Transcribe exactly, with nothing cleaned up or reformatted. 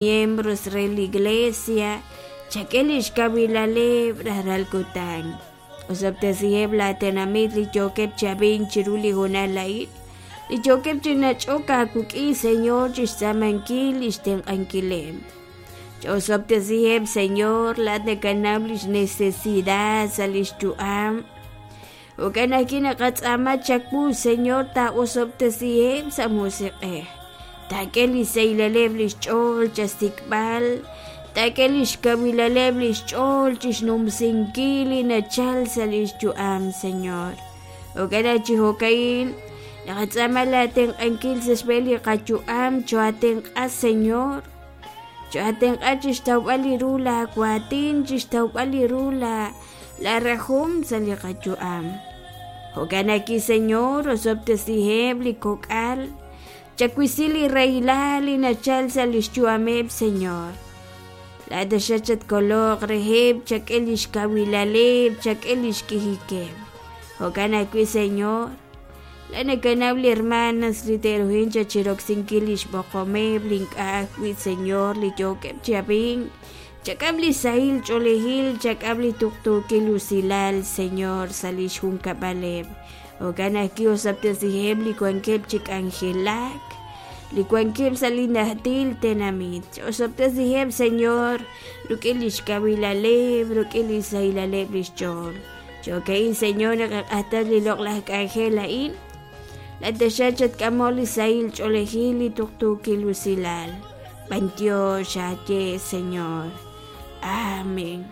Miembros re la iglesia, chak'e lix kawilaleb' rajlal kutan. Osob'tesiheb' laa tenamit li yookeb' chi ab'ink chiru li hoonal a'in, li yookeb' chi nach'ok aawik'in, Señor, chixtz'aamankil lix tenq'ankileb'. Ch'osob'tesiheb', Señor, laa'at nakanaw lix necesidad sa' lix yu'am. Jo'kan ajwi' naqatz'aama chawu, Señor, taa'osob'tesiheb' sa' musiq'ej. Taak'e li saylaleb' lix ch'ool chasik'b'al, taak'e lix kawilaleb' lix ch'ool chixnumsinkil li nachal sa' lix yu'am, Señor. Jo'kan naq chi jo'ka'in naqatz'aama laatenq'ankil sa' xb'een li qayu'am, choatenq'a, Señor. Choatenq'a chixtawb'al li ru laawaatin, chixtawb'al li ru la la rajom sa' li qayu'am. Jo'kan ajwi', Señor, osob'tesiheb' li kok'al, chawisi li rahilal li nachal sa' lix yu'ameb', Señor. Laa'at xachatkoloq reheb', chak'e lix kawilaleb', chak'e lix k'ijikeb'. Jo'kan ajwi', Señor, laa'at nakanaw li hermanas li te'ruhin chachiroksinkil lix b'oqomeb' li ink'a' ajwi', Señor, li yookeb' chi ab'ink. Chak'am li sahil ch'oolejil, chak'am li tuqtuukil usilal, Señor, sa' lix junkab'aleb'. Jo'kan ajwi' osob'tesiheb' li wankeb' chi k'anjelak, li wankeb' sa' li najtil tenamit. Osob'tesiheb', Señor, rik'in lix kawilaleb', rik'in li sahilaleb' lix ch'ool. Jo'ka'in, Señor, naqaq'axtal li loq'laj k'anjel a'in. Laa'at chatk'amol li sahil ch'oolejil, li tuqtuukil usilal. B'antiox aaye, Señor. Amén.